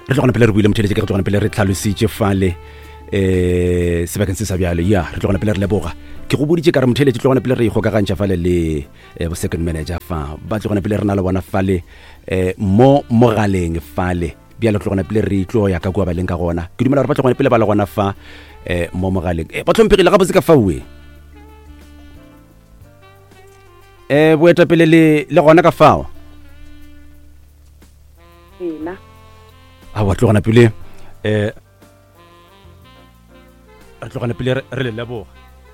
Re tlogana pele re buile motheletše ke re tlogana pele re tlhalositše fale eh sebakeng se sa bjalo ya re tlogana pele re leboga ke go boditše ka re motheletše tlogana pele re ikgokagantšha fale le eh, bo second manager fa ba tlogana pele re na le bona fale eh mo mogaleng fale bjale tlogana pele re tlo ya ka kua ba leng ka gona ke dumela gore ba tlogana pele ba le gona fa eh mo mogaleng eh, ba tlhomphegile gabotse ka faue eh boetapele le le gona ka fao Ena. A wa tlogana pele eh re tlogana pele re le leboga.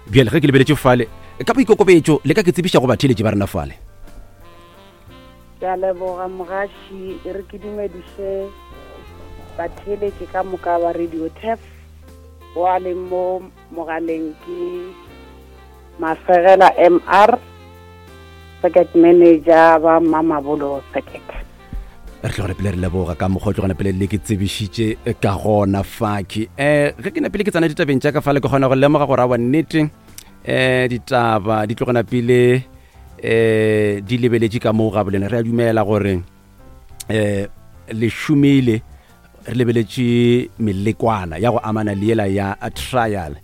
Bjale ge ke lebeletše fale ka boikokobetšo le ka ke tsebiša go batheeletši ba rena fale. Ke a leboga mogaši e re ke dumediše batheeletši ka moka ba Radio Turf wa leng mo mogaleng ke Mafegela MR, Circuit Manager ba Mamabolo Circuit. Re tlogele pele re leboga ka mokgwa o tlogana pele le ke tsebišitše ka gona faki. Um ge ke napile ke tsena ditabeng tša ka fale ke kgona go lemoga gore awa nnete um ditaba di tlogana pele um di lebeletše ka moo ga bolena. Re a dumela gore um le šomile re lebeletše melekwana ya go amana le yela ya trial.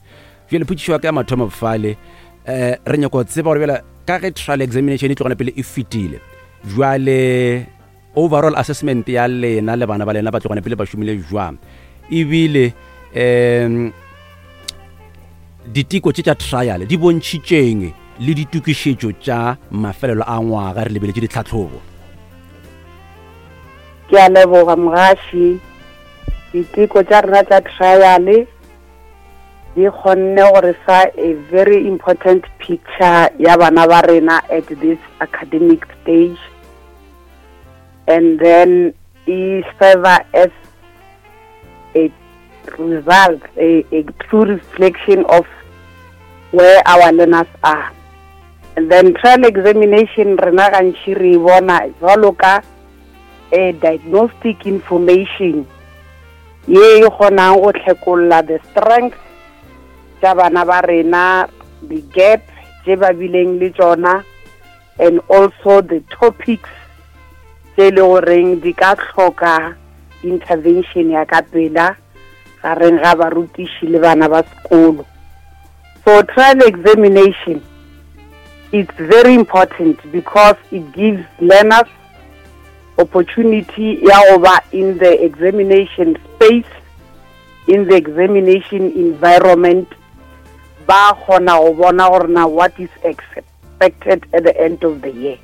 Bjale potšišo ya ka ya mathomo fale um re nyako tseba gore bjale ka ge trial examination e tlogana pele e fetile jwale overall assessment ya lena le bana ba lena ba tlogana pele ba šomile jwang ebile um diteko tše tša trial di bontšhitšeng le ditokišetšo tša mafelelo a ngwaga re lebeletše ditlhatlhobo Ke a leboga mogaši. Diteko tša rena tša trial di kgonne go re fa a very important picture ya bana ba rena at this academic stage and then e serve as a result, a, a true reflection of where our learners are. And then trial examination rena gantši re e bona jwalo ka a diagnostic information ye e kgonang go tlhekolla the strength tša bana ba rena, the gap tše ba bileng le tšona, and also the topics tše e le goreng di ka hloka intervention ya ka pela gareng ga barutiši le bana ba sekolo. So trial examination it's very important because it gives learners opportunity ya go ba in the examination space, in the examination environment, ba kgona go bona gore na what is expected at the end of the year.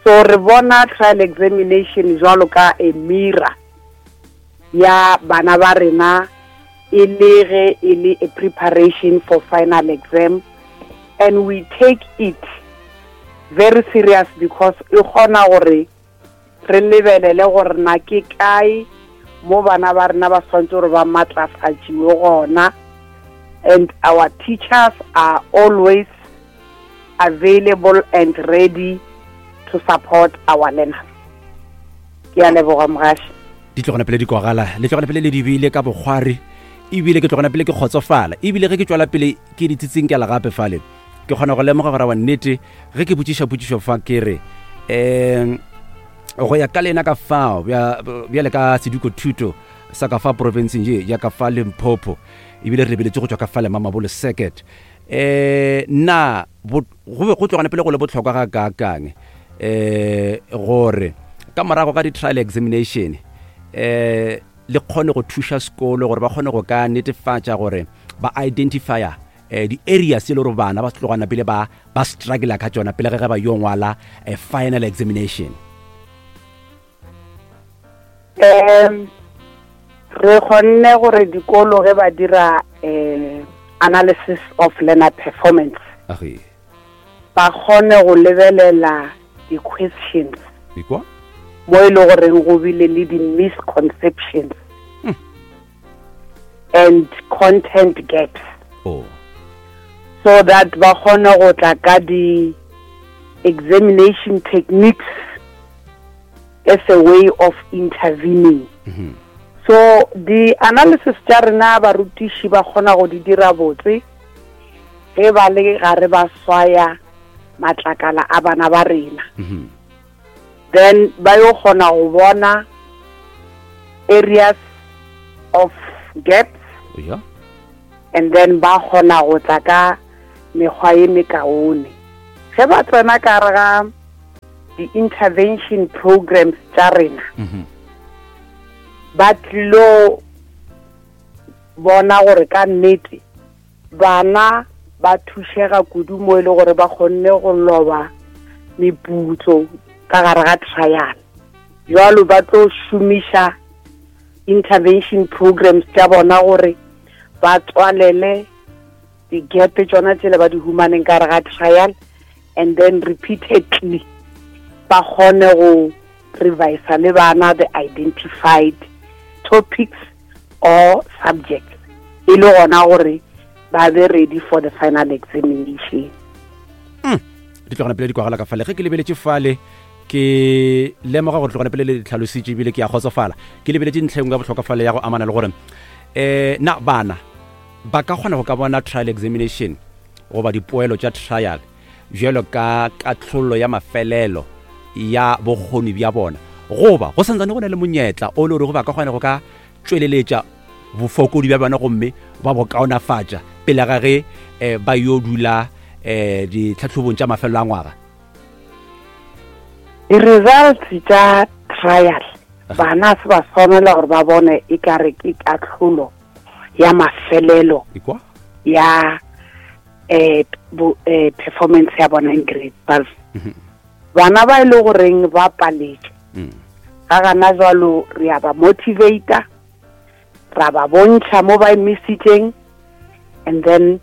So re bona trial examination jwalo ka a mirror ya bana ba rena e le ge e le a preparation for final exam, and we take it very serious because e kgona gore re lebelele gore na ke kae mo bana ba rena ba swantse gore ba matlafatšiwe gona, and our teachers are always available and ready to support our learners. Ke a leboga mogaši. Di tlogana pele di kwagala, le tlogana pele le di beile ka bokgwari, ebile ke tlogana pele ke kgotsofala, ebile ge ke tšwela pele ke di tsitsinkela gape fale ke kgona go lemoga gore wa nnete ge ke botšiša potšišo fa ke re um go ya ka lena ka fao bjale ka seduko thuto sa ka fa profenseng ye ya ka fa Limpopo, ebile re lebeletše go tšwa ka fa le Mamabolo Circuit, um na go be go tlogana pele go le bohlokwa ga kaakang um gore ka morago ga di-trial examination um le kgone go thuša sekolo gore ba kgone go ka netefatša gore ba identifya eh, di-areas e le gore bana ba tlogana pele ba ba struggle ka tšona pele ge ba yo ngwala eh, final examination? Um re kgonne gore dikolo ge ba dira um analysis of learner performance ba kgone go lebelela di-questions mo e le goreng go bile le di-misconceptions hmm. and content gaps oh. so that ba kgone go tla ka di-examination techniques as a way of intervening. Mm -hmm. So the analysis tša rena barutiši ba kgona go di dira botse ge ba le gare ba swaya matlakala a bana ba rena. Mm -hmm. Then ba yo kgona go bona areas of gaps yeah. And then ba kgona go tla ka mekgwa ye mekaone ge ba tsena ka re ga di-intervention programs tša rena. Ba tlilo bona gore ka nnete bana ba thušega kudu mo e le gore ba kgonne go loba meputso ka gare ga trial. Jwalo ba tlo šomiša intervention programs tša bona gore ba tswalele di-gap tšona tsele ba di humaneng ka gare ga trial, and then repeatedly ba kgone go revisa le bana the identified topics or subjects, e le gona gore ba be ready for the final examination. Di tlogana pele di kwagala ka fale. Ge ke lebeletše fale, ke lemoga gore tlogana pele le ditlhalositše, ebile ke a kgotsofala. Ke lebeletše ntlha engwe ya bohlokwa fale ya go amana le gore na bana ba ka kgona go ka bona trial examination goba dipoelo tša trial bjalo ka katlholo ya mafelelo ya bokgoni bja bona, goba go santsane go na le monyetla o le gore ba ka kgona go ka tšweleletša bofokodi bja bona gomme ba bo kaonafatša pele ga ge ba yo dula ditlhatlhobong tša mafelelo a ngwaga? Di-results tša trial, bana se ba swanela gore ba bone e kare ke katlholo ya mafelelo ya performance ya bona in grade 12. Bana ba e le goreng ba paletše ga gana jwalo, re a ba motivator, ra ba bontšha mo ba emisitseng, and then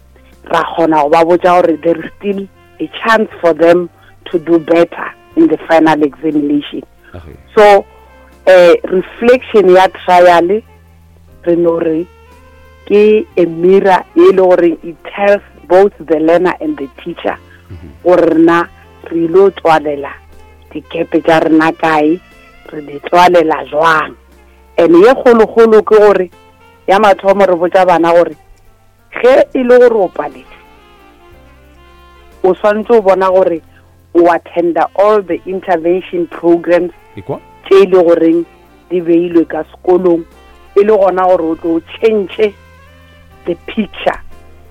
ra kgona go ba botša gore there is still a chance for them to do better in the final examination. So reflection ya trial, re no re ke a mirror e le goreng it tells both the learner and the teacher gore rena re ile tswalela dikepe tša rena kae, re di tswalela jwang. And ye kgolokgolo ke gore ya mathomo re botša bana gore ge e le gore o paletse, o swanetse o bona gore o attenda all the intervention programs tše e le goreng di beilwe ka sekolong, e le gona gore o tlo change the picture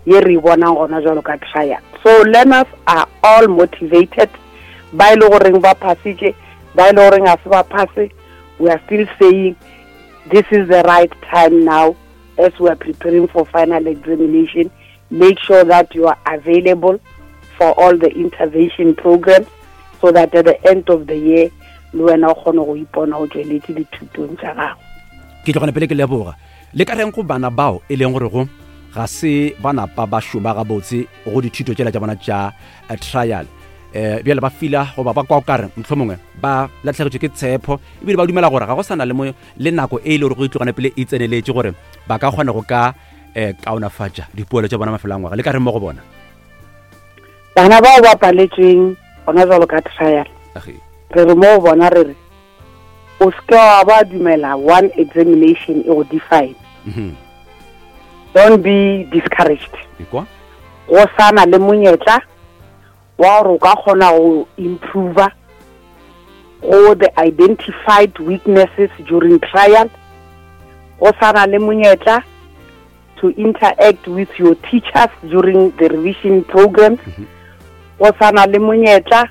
ye re e bonang gona jwalo ka trial. So learners are all motivated, ba e le goreng ba phasitše, ba e le goreng ga se ba phase. We are still saying this is the right time now as we are preparing for final examination. Make sure that you are available for all the intervention programs so that at the end of the year le wena o kgone go ipona o tsweletše dithutong tša gago. Ke tlogana pele ke leboga. Le ka reng go bana bao e leng gore go ga se ba napa ba šoma gabotse go dithuto tšela tša bona tša trial, bjale ba fila goba ba kwa o kare mohlomongwe ba latlhegetšwe ke tshepo, ebile ba dumela gore ga go sana le mo le nako e le gore go itlogana pele e tseneletše gore ba ka kgona go ka kaonafatša dipoelo tša bona mafelo a ngwaga? Le ka reng mo go bona? Bana bao ba paletsweng gona jalo ka trial, re re mo go bona, re re o seke wa ba dumela one examination e go define. Don't be discouraged. Go sana le monyetla wa gore o ka kgona go improve go the identified weaknesses during trial. Go sana le monyetla to interact with your teachers during the revision programs. Go sana le monyetla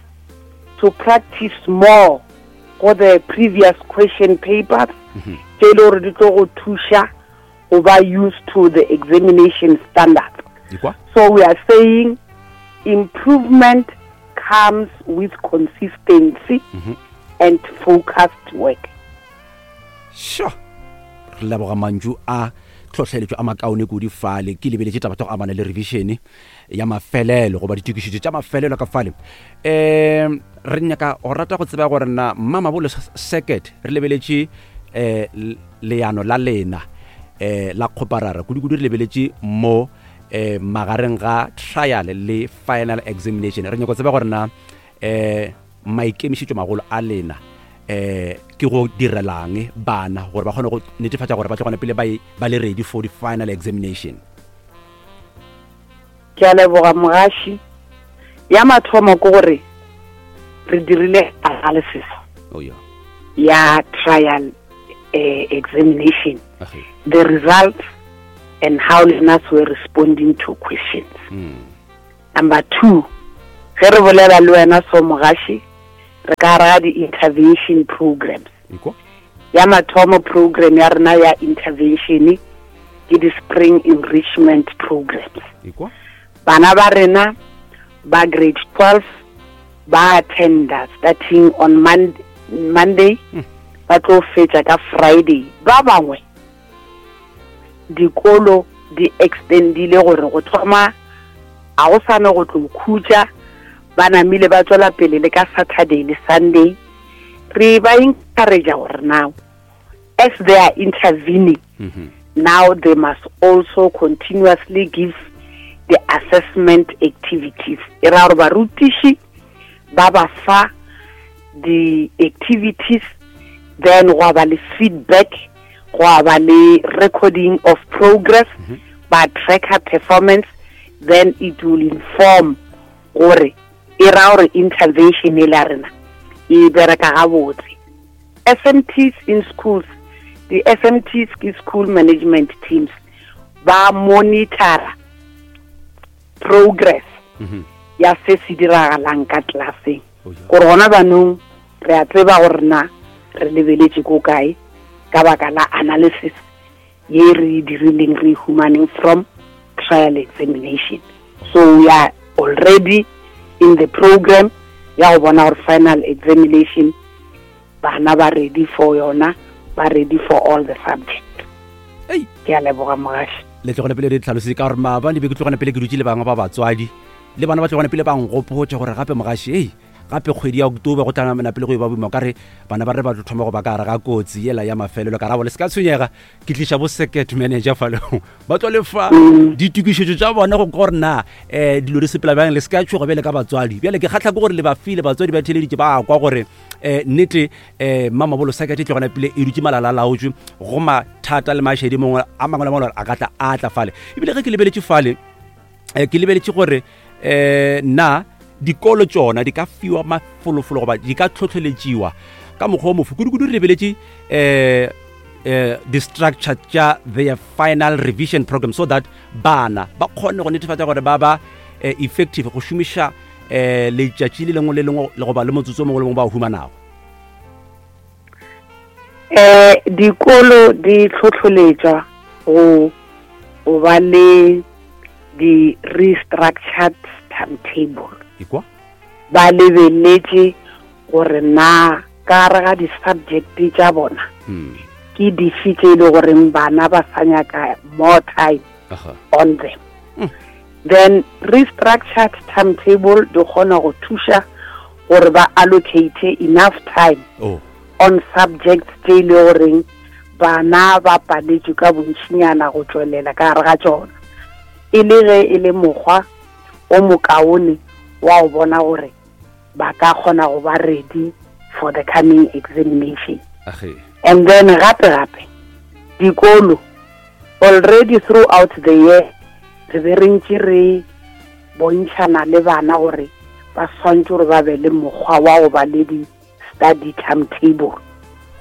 to practice more go the previous question papers tše e le gore di tlo go thuša go ba used to the examination standards. So we are saying improvement comes with consistency and focused work. Sure, re leboga mantšu a tlhohleletšo a makaone kudu fale. Ke lebeletše taba tša go amana le revision ya mafelelo goba ditokišetšo tša mafelelo ka fale. Re nyaka go rata go tseba gore na Mamabolo Circuit, re lebeletše leano la lena la kgoparara, kudu-kudu re lebeletše mo magareng ga trial le final examination. Re nyaka go tseba gore na maikemišetšo magolo a lena ke go direlang bana gore ba kgone go netefatša gore ba tlogane pele ba le ready for the final examination. Ke a leboga, mogaši. Ya mathomo ke gore re dirile analysis Oh, yeah. ya trial. uh, examination the results and how learners were responding to questions mm. number two ge re bolela le wena so mogaši re ka raga di-intervention programs ya mathomo program ya rena ya intervention ke di-spring enrichment programs bana ba rena ba grade 12 ba attenda starting on Monday, Monday hmm. ba tlo fetša ka Friday ba bangwe dikolo di extendile gore go thoma a go sane go tlo khutša ba namile ba tswela pele le ka Saturday le Sunday re ba encourage gore now as they are intervening mm -hmm. now they must also continuously give the assessment activities e ra gore barutiši ba ba fa the activities then go ba le feedback go ba le recording of progress mm -hmm. ba tracker performance then it will inform gore e ra gore intervention e la rena e bereka gabotse SMTs in schools di-SMTs ke school management teams ba monitora progress mm -hmm. ya se se diragalang ka tlelaseng oh, gore gona banong re a tseba gore na re lebeletše ko kae ka baka la analysis ye re e dirileng re e humaneng from trial examination so we are already in the program ya go bona gore final examination bana ba ready for yona ba ready for all the subjects ke a leboga mogaši le tlogone pele re tlhalositse ka gore maabane be ke tlogone pele ke dutse le bangwe ba batswadi le bana ba tlogone pele ba nkgopotse gore gape mogaši ei gape kgwedi ya october go tla pele go e ba boima ka re bana ba re ba tlo thoma go ba ka gare ga kotsi yela ya mafelelo ka rabo le se ka tshwenyega ke tliša bo second manager fa leo ba tlo lefa mm. ditokišetšo tša bona go gore na um dilo di sepela bjang le se ka tšhoga bjale ka batswadi bjale ke kgatlha ke gore le ba file batswadi ba theleditše ba kwa gore um nnete um mamabolo second e tlogana pele e dutse malala laotswe go mathata le mašedi mongwe a mangwe le mangwe a ka tla a tla fale ebile ge ke lebeletše fale um ke lebeletše gore um na dikolo tšona di ka fiwa mafolofolo goba di ka tlhotlheletšiwa ka mokgwa o mofe kudu-kudu re lebeletše um um di-structure tša their final revision program so that bana ba kgone go netefatša gore ba ba eh, effective go šomiša um letšatši le lengwe le lengwe le goba le motsotso o mongwe le mongwe ba o humanago um dikolo di tlhotlholetšwa go go ba le di-restructured timetable Ikwa? ba lebeletše gore na ka gare ga di-subject tša bona hmm. ke dife tše e le goreng bana ba sa nyaka more time Aha. on them hmm. then restructured timetable di kgona go thuša gore ba allocate enough time oh. on subjects tše e le goreng bana ba paletšwe ka bontšinyana go tšwelela ka gare ga tšona e le ge e le mokgwa o mokaone wa go bona gore ba ka kgona go ba ready for the coming examination and then gape gape dikolo already throughout the year re be re ntše re bontšhana le bana gore ba swantse gore ba be le mokgwa wa go ba le di study timetable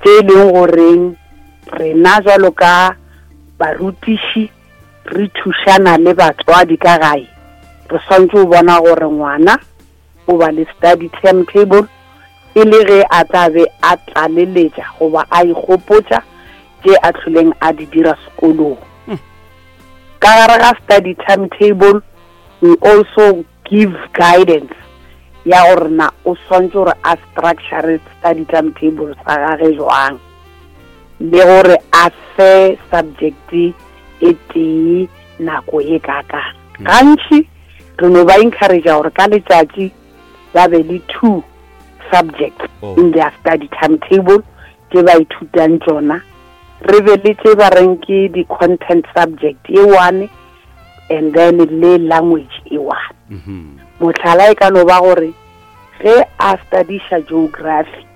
tše e leng goreng rena jalo ka barutiši re thušana le batswadi ka gae re swantse go bona gore ngwana o ba le study timetable e le ge a tla be a tlaleletša goba a ikgopotša tše a tlholeng a di dira sekolong hmm. ka gare ga study timetable we also give guidance ya gore na o swantse gore a structure study timetable sa gage jwang le gore a fe subject e tee nako e kakang hmm. gantši re no ba encourage gore ka letšatši ba be le two subjects oh. in their study timetable tše ba ithutang tšona re be le tše ba reng ke di-content subject e one and then le language e one mm-hmm. motlhala e ka no ba gore ge a studiša geography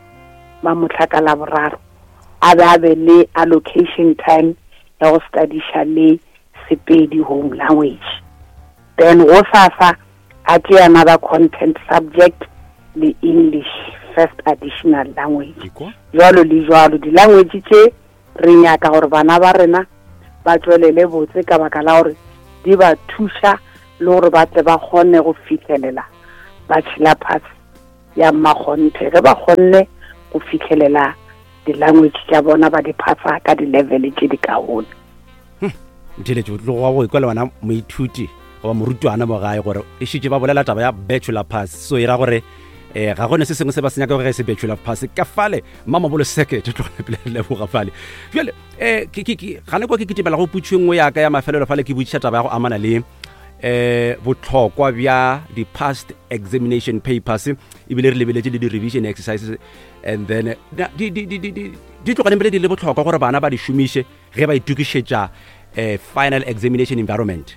mamotlha ka laboraro a be a be le allocation time ya go studiša le sepedi home language then go sasa a tšea another content subject le english first additional language jalo le jalo di-language tše Re nyaka gore bana ba rena ba tšwelele botse ka baka la gore di ba thuša le gore ba tle ba kgone go fihlelela bachelor pass ya mmakgonthe ge ba kgonne go fihlelela di-language tša bona ba di phasa ka di-level tše di kaone. Ntheletše o tloga go ikwa le wena moithuti goba morutwana mo gae gore e šetše ba bolela taba ya bachelor pass, so e ra gore eh ga gone se sengwe se ba se nyaka gore se bachelor pass ka fale mamabolo seke te tlogela pele re leboga fale. Jale eh ke ke ke gane kwa ke kitimela go putšo nngwe ya ka ya mafelelo fale, ke botšiša taba ya go amana le eh botlhokwa bja di-past examination papers, ebile re lebeletše le di-revision exercises, and then di di di di di tloganeng pele di le botlhokwa gore bana ba di šomiše ge ba itokišetša eh, final examination environment.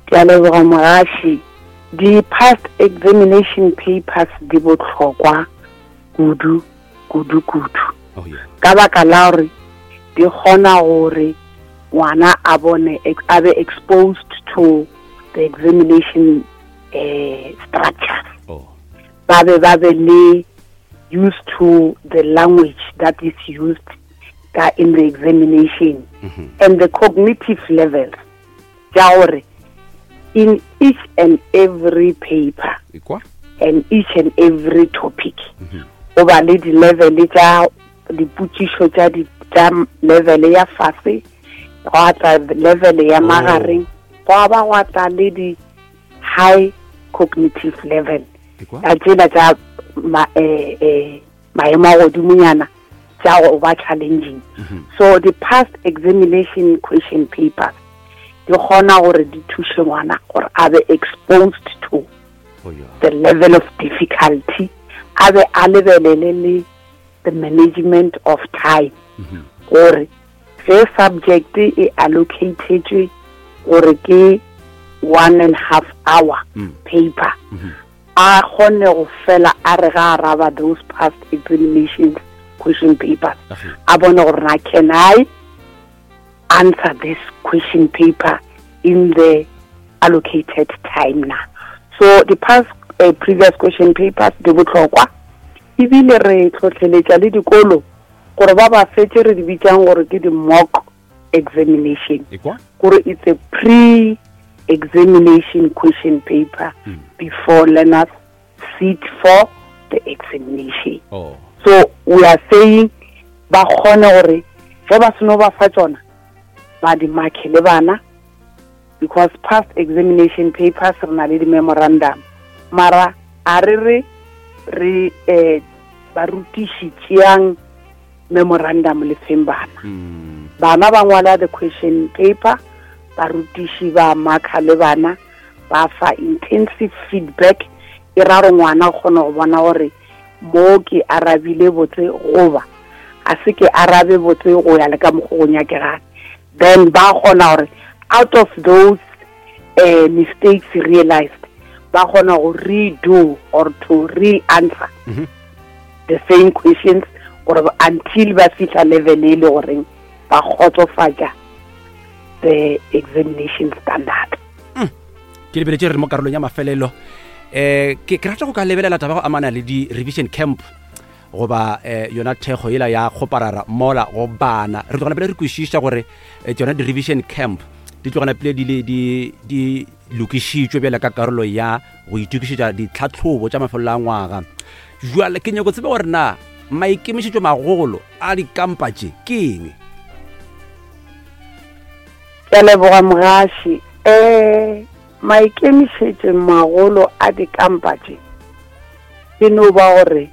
Ke a leboga mogaši. Di-past examination papers di bohlokwa kudu kudu kudu. Oh, yeah. Ka baka la gore di kgona gore ngwana a bone a be exposed to the examination eh, structure. Oh. Ba be ba be le used to the language that is used ka in the examination mm -hmm. and the cognitive levels tša gore in each and every paper and each and every topic mm-hmm. go ba le di-level tša dipotšišo tša tša level ya fase, gwa tla level ya oh. magareng, gwa ba gwa tla le di high cognitive level tša tsela tša eh, eh, maemo a godimonyana tša go ba challenging. Mhm. So the past examination question papers di kgona gore di thuše ngwana gore a be exposed to oh, yeah. the level of difficulty, a be a lebelele le the management of time mhm. gore ge subject e allocatetswe gore ke 1.5 hour mm. paper mm -hmm. a kgone go fela a re ga araba those past examinations question papers, a bone gore na can I answer this question paper in the allocated time na. So the past uh, previous question papers di botlhokwa, ebile re tlhotlheletša le dikolo gore ba ba fetse re di bitsang gore ke di-mock examination, gore it's a pre-examination question paper mm. before learners sit for the examination. Oh. So we are saying ba kgone gore ge ba seno ba fa tsona ba di marke le bana, because past examination papers re na le di-memorandum, mara a re re re eh, barutiši tšeang memorandum le feng bana. Mm. Bana ba ngwala the question paper, barutiši ba marka le bana, ba fa intensive feedback, e ra gore ngwana o kgona go bona gore mo ke arabile botse goba a se ke arabe botse go ya le ka mokgo go nyakegang. Then ba kgona gore out of those uh, mistakes realized, ba kgona go redo or to re-answer mm -hmm. the same questions gore until ba fihla level e le goreng ba kgotsofatša the examination standard. Mm. Ke lebeletše re mo karolong ya mafelelo, eh ke ke rata go ka lebelela taba go amana le di revision camp goba eh, yona thekgo yela ya kgoparara mola go bana. Re tlogana pele re kwešiša gore eh, tsona di-revision camp di tlogana pele di, di, di lokišitšwe bjale ka karolo ya go itokišetša ditlhatlhobo tša mafelelo a ngwaga. Jwale ke nyako tsebe gore na maikemišetšo magolo a dikampa tše ke eng? Ke a leboga mogaši. Um maikemišetšo magolo a dikampa tše ke no ba gore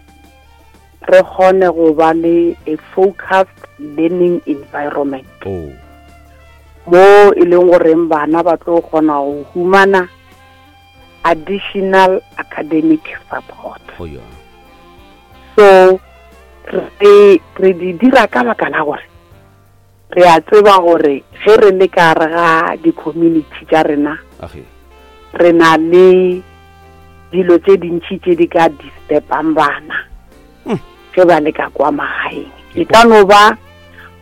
re kgone go ba le a focused learning environment. Oh. Mo e leng goreng bana ba tlo kgona go humana additional academic support. Oh, yeah. So re re di dira ka baka la gore re a tseba gore ge re le ka gare ga di-community tša rena, re na le dilo tše dintši tše di ka disturbang bana hmm. ge ba le ka kwa magaeng. E ka no ba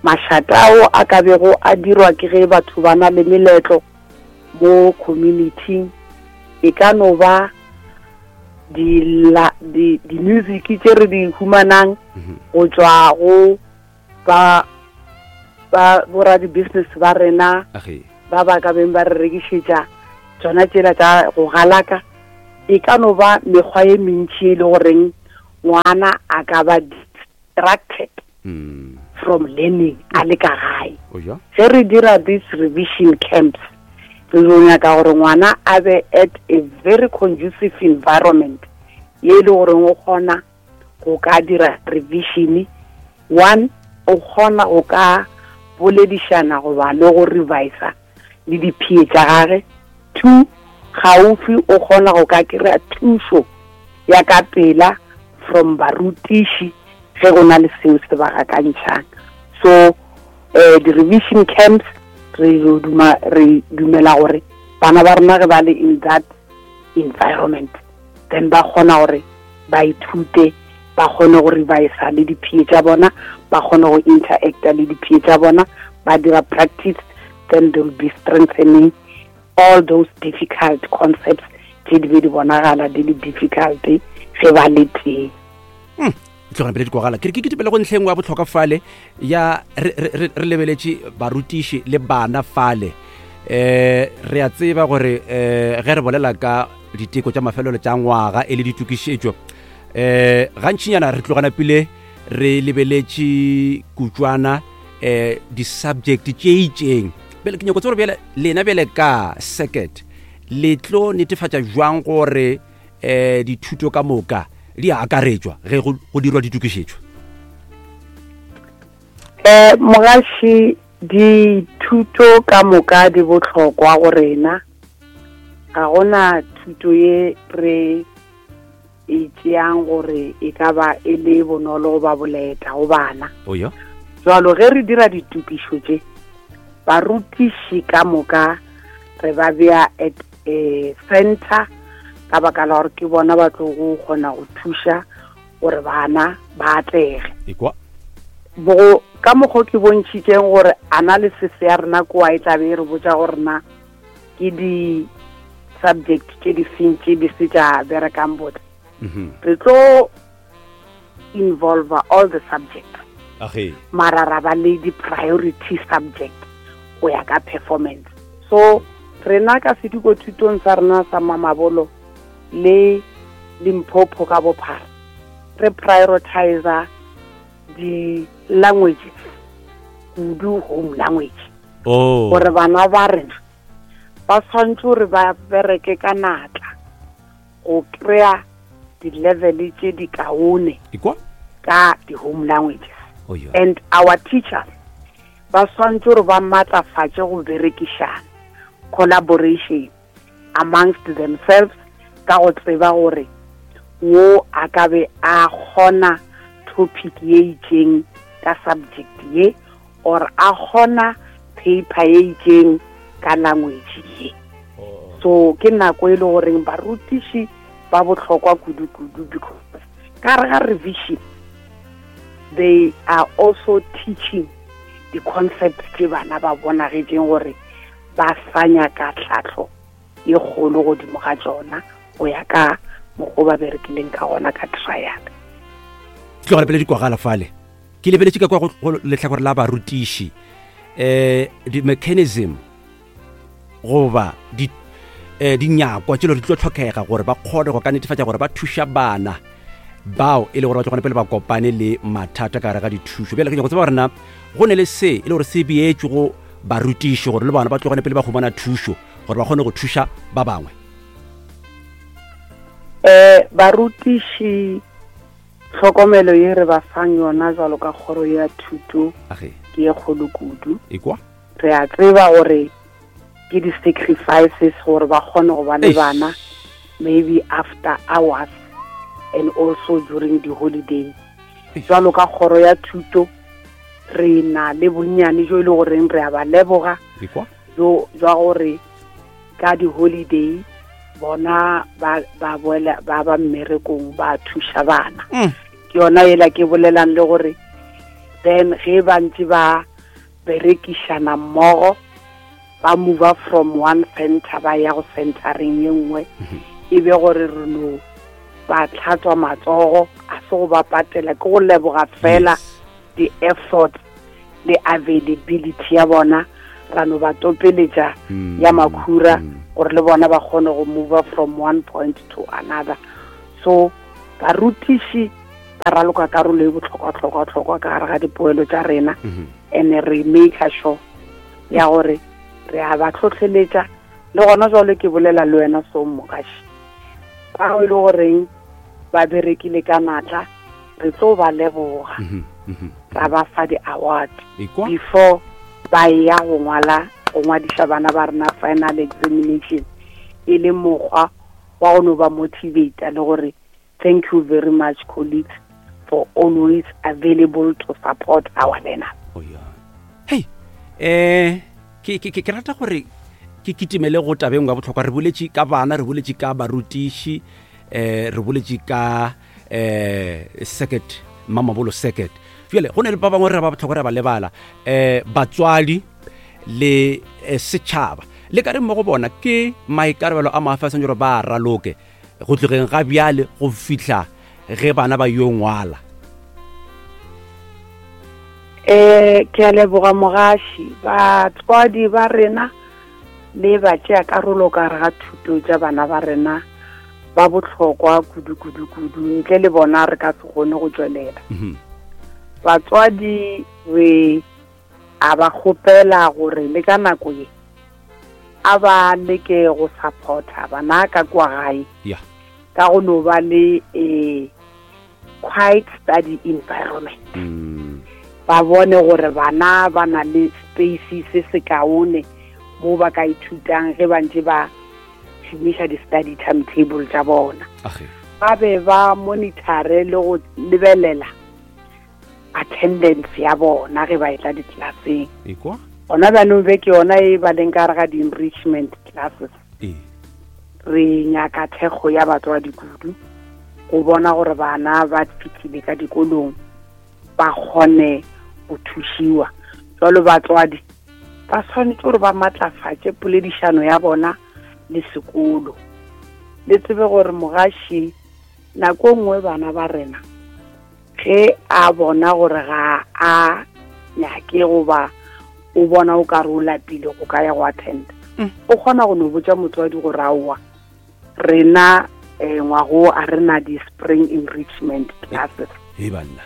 mašata ao a ka bego a dirwa ke ge batho ba na le meletlo mo community-ing, e ka no ba di-music tše re di humanang mhm. go tšwa go Ba ba boradibusiness ba rena ba ba ka beng ba re rekišetša tsona tsela tša go galaka e ka no ba mekgwa ye mentši e le goreng ngwana a ka ba distracted mm. from learning a le ka gae ge re dira this revision camps re yo nyaka gore ngwana a be at a very conducive environment ye e le goreng o kgona go ka dira revision one o kgona go ka boledišana goba le go revisa le diphie tša gage two gaufi o kgona go ka kry-a thušo ya ka pela from barutiši ge go na le seo se ba gakantšhang so um di-revision camps re duma re dumela gore bana ba rena ge ba le in that environment then ba kgona gore ba ithute ba kgone go revisa le diphie tša bona ba kgone go interacta le diphie tša bona ba dira practice then they will be strengthening all those difficult concepts tše di be di bonagala di le difficult ge ba le teng hmm. tlogela pele dikwagala ke re ke ketepele go ntlheng wa botlhokwa fale ya re lebeletše barutiši le bana fale eh re a tseba gore eh ge re bolela ka diteko tša mafelelo tša ngwaga e le ditokišetšo eh gantšinyana re tlogana pele re lebeletše kutšwana eh di-subject tše itšeng bjale ke nyako tseba gore bjale lena bjale ka circuit le tlo netefatša jwang gore eh dithuto ka moka di a akaretšwa ge go dirwa ditokišetšo eh mogaši dithuto ka moka di bohlokwa go rena ga gona thuto ye re e tšeang gore e ka ba e le bonolo goba boleta go bana jalo ge re dira ditokišo tše barutiši ka moka re ba bea at a center ka baka la gore ke bona ba tlo go kgona go thuša gore bana ba atlege bo ka mokgwa ke bontšhitšeng gore analysis ya rena koa e tlabe e re botša gore na ke di-subject tše di feng tše di se tša berekang botse mhm. re tlo involve all the subjects mara ra ba le di-priority subject go ya ka performance so rena ka sediko thutong sa rena sa mamabolo le limpopo ka bophara re prioritizer di-languages kudu home language oh. gore bana ba rena ba tshwanetse gore ba bereke ka natla go kry-a di-level tše di kaone ka di-home languages oh, yeah. and our teachers ba tshwanetse gore ba maatlafatše go berekišana collaboration amongst themselves ka go tseba gore wo a ka be a kgona topic ye itšeng ka subject ye or a kgona paper ye itšeng ka language ye oh. so ke nako e le goreng barutiši ba bohlokwa kudu-kudu because ka re ga revision they are also teaching di-concepts tše bana ba bonagetšeng gore ba sa nyaka tlhahlo ye kgolo godimo ga tšona go ya ka mokgwa ba berekileng ka gona ka trial tlogela pele dikwagala fale ke lebeletše ka kwa go lehlakore la barutiši um di-mechanism goba di eh, dinyakwa tšelo di tlo tlhokega gore ba kgone go ka netefatša gore ba thuša bana bao e le gore ba tlogane pele ba kopane le mathata ka gare ga dithušo bjale ke nyako tseba gore na go ne le se e le gore se beetšwe go barutiši gore le bona ba tlogane pele ba humana thušo gore ba kgone go thuša ba bangwe um barutiši tlhokomelo ye re ba fang yona jalo ka kgoro ya thuto ke ye kgolo kudu re a tseba gore ke di-sacrifices gore ba kgone go ba le bana maybe after hours and also during the holiday jalo ka kgoro ya thuto re na le bonnyane jo e le goreng re a ba leboga jo jwa gore ka di-holiday bona ba ba boela ba ba mmerekong ba thuša bana mm. ke yona ela ke bolelang le gore then ge ba ntse ba berekišana mmogo ba move from one center ba ya go centereng ye nngwe mhm. e be gore re no ba tlhatswa matsogo a se go ba patela ke go leboga fela di-effort le availability ya bona ra no ba topeletša mm. ya makhura mm. gore le bona ba kgone go move from one point to another so barutiši ba raloka karolo e botlhokwa-tlhokwa-tlhokwa ka gare ga dipoelo tša rena mm-hmm. and re make sure ya gore re a ba tlhotlheletša le gona jalo ke bolela le wena so mogaši bao e le goreng ba berekile ka natla re tlo ba leboga mhm, mhm. ra ba fa di-award before ba ya go ngwala go ngwadiša bana ba rena final examination e le mokgwa wa go no ba motivate le gore thank you very much colleagues for always available to support our learners oh, yeah. hey eh ke ke ke rata gore ke kitimele go tabeng wa botlhokwa re boletše ka bana re boletše ka barutiši eh re boletše ka eh circuit mamabolo circuit jale go ne le ba bangwe re ba botlhokwa re ba lebala eh batswadi le eh, setšhaba le ka re mo go bona ke maikarabelo a mafe a santse gore ba raloke go tlogeng ga bjale go fihla ge bana ba yo ngwala eh ke a leboga mogaši batswadi ba rena le ba tšea karolo ka gare ga thuto tša bana ba rena ba bohlokwa kudu kudu kudu ntle le bona re ka se kgone go tšwelela mhm. batswadi re a ba kgopela gore le ka nako ye a ba leke go supporta bana ka kwa gae ka go no ba le a quiet study environment mm. ba bone gore bana ba na le space se se kaone mo ba ka ithutang ge ba ntse ba šomiša di-study timetable tša bona ba be ba monitore le go lebelela attendance ya bona ge ba etla ditlelaseng gona bjanong be ke yona e ba leng ka gare ga di-enrichment classes re nyaka thekgo ya batswadi kudu go bona gore bana ba fitlhile ka dikolong ba kgone go thušiwa jalo batswadi ba swanetše gore ba matlafatše poledišano ya bona le sekolo le tsebe gore mogaši nako nngwe bana ba rena ge a bona gore ga a nyake goba o bona o ka re o lapile go ka ya go attend mm. o kgona go no botša motswadi gore aowa rena um ngwago a re na di-spring enrichment classes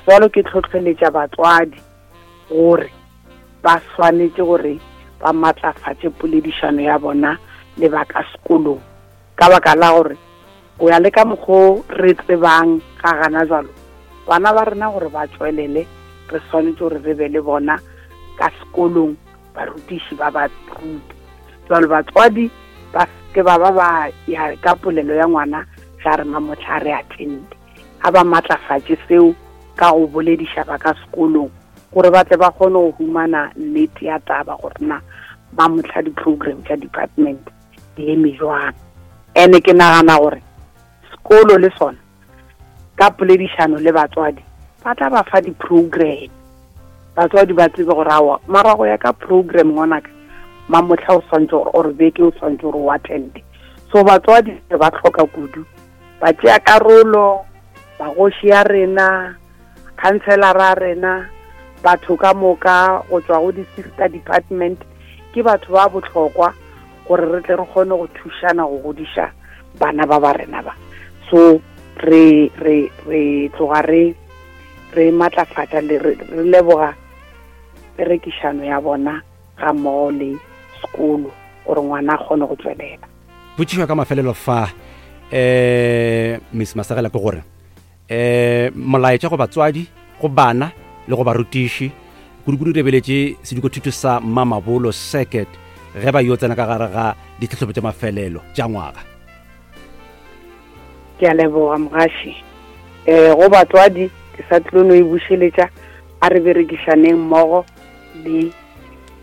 jalo ke tlhotlheletša batswadi gore ba swanetše gore ba matlafatše poledišano ya bona le ba ka sekolong ka baka la gore go ya le ka mokgo re tsebang ga gana jalo bana ba rena gore ba tswelele re swanetše gore re be le bona ka sekolong barutiši ba ba rute jalo batswadi ba ke ba ba ba ya ka polelo ya ngwana ga re mamotlha re attende a ba matlafatše seo ka go bolediša ba ka sekolong gore ba tle ba kgone go humana nnete ya taba gore na ba motlha di-program tša department di eme jwang ene ke nagana gore sekolo le sona ka poledišano le batswadi ba tla ba fa di-program batswadi ba tsebe gore awa mara go ya ka program ngwanaka mamotlha o swantse gore or beke o swantse gore o attende so batswadi ba tlhoka kudu ba tšea karolo bagoši ya rena khanselara rena batho ka moka go tšwa go di-sister department ke batho ba bohlokwa gore re tle re kgone go thušana go godiša bana ba ba rena ba so re re re tloga re re matlafatša le re leboga perekišano ya bona ga mmogo le sekolo gore ngwana a kgone go tswelela potšišo ka mafelelo fa um miss masagela ke gore um molaetša go batswadi go bana le go barutiši kudu-kudu rebeletše sedikothuto sa mamabolo circuit ge ba yo tsena ka gare ga ditlhatlhobo tša mafelelo tša ngwaga ke a leboga mogaši um go batswadi ke sa tlilo no e bušeletša a re berekišaneng mmogo le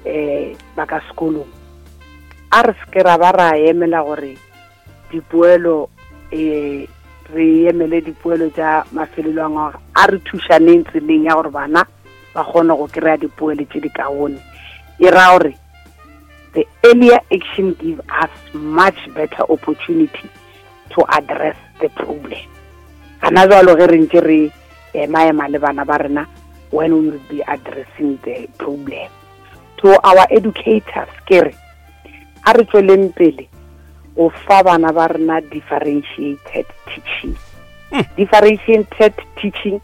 um ba ka sekolong a re seke ra ba ra emela gore dipoelo um re emele dipoelo tša mafelelo a ngwaga a re thušaneng tseleng ya gore bana ba kgone go kry-a dipoelo tše di kaone e ra gore the earlier action give us much better opportunity to address the problem gana jalo ge re ntse re ema ema le bana ba rena when we will be addressing the problem. To our educators, ke re a re tsweleng pele go fa bana ba rena differentiated teaching. Differentiated teaching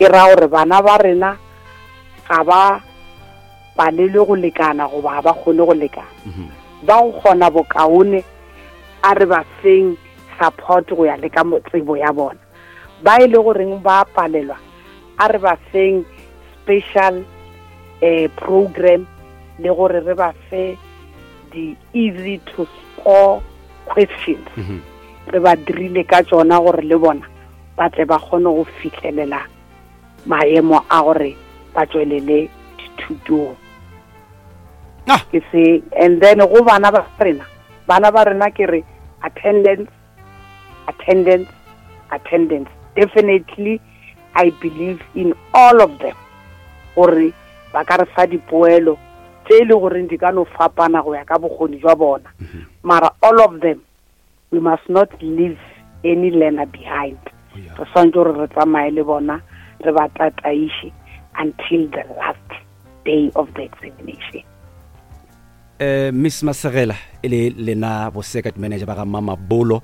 e ra gore bana ba rena ga ba palelwe go lekana goba ga ba kgone go lekana. Ba go kgona bokaone a re ba feng support go ya le ka tsebo ya bona. Ba e le goreng ba palelwa a re ba feng special program le gore re ba fe di easy to score questions. Re ba dirile ka tšona gore le bona ba tle ba kgone go fihlelela maemo a gore ba tšwelele dithutong. Ke se, and then go bana ba rena, bana ba rena ke re attendance, attendance, attendance. Definitely I believe in all of them gore ba ka re fa dipoelo tše e le goreng di ka no fapana go ya ka bokgoni jwa bona. Mara all of them, we must not leave any learner behind. Re swanetše gore re tsamaye le bona, re ba tataiše until the last day of the examination. Miss Masegela, e le lena bo circuit manager ba ga Mamabolo,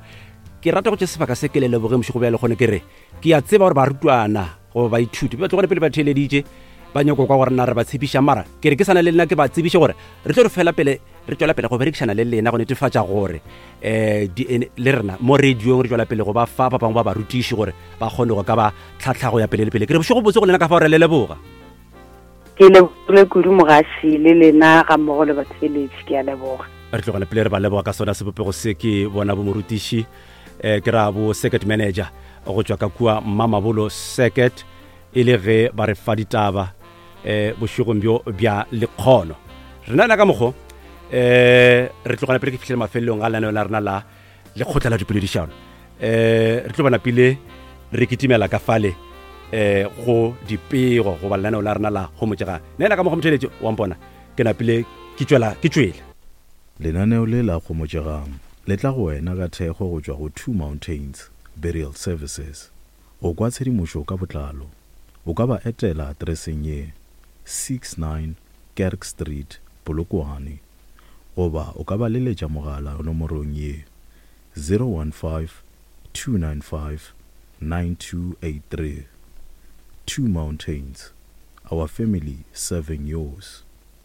ke rata go tše sebaka se ke le leboge mošego bja lekgono. Ke re ke a tseba gore barutwana goba baithuti ba tlogone pele ba theeleditše ba nyako kwa gore na re ba tshepiša, mara ke re ke sana le lena ke ba tsebiše gore re tlo re fela pele re tšwela pele go berekišana le lena go netefatša gore le rena mo radiong re tšwela pele go ba fa ba bangwe ba barutiši gore ba kgone go ka ba tlhatlha go ya pele le pele. Ke re bošego botse go lena ka fa gore le leboga. Ke lebogile kudu mogaši le lena ga mmogo le batheeletši, ke a leboga. Re tlogela pele re ba leboga ka sona sebopego se ke bona bo morutiši, ke ra bo circuit manager go tšwa ka kua Mamabolo Circuit, e le ge ba re fa ditaba bošegong bjo bja lekgono. Rena na ka mokgo re tlogela pele ke fihlele mafelelong a lenaneo la rena la lekgotla la dipoledišano. Re tlo bona pele re kitimela ka fale go dipego goba lenaneo la rena la homotšegang. Nna ka mokgwa motheletše wa mpona ke napile ke tšwela ke tšwele. Lenaneo le la Homotšegang le tla go wena ka thekgo go tšwa go Two Mountains Burial Services. Go kwa tshedimošo ka botlalo, o ka ba etela atereseng ye, 69 Kerk Street, Polokwane, goba o ka ba leletša mogala nomorong ye, 015 295 9283. Two Mountains, our family serving yours.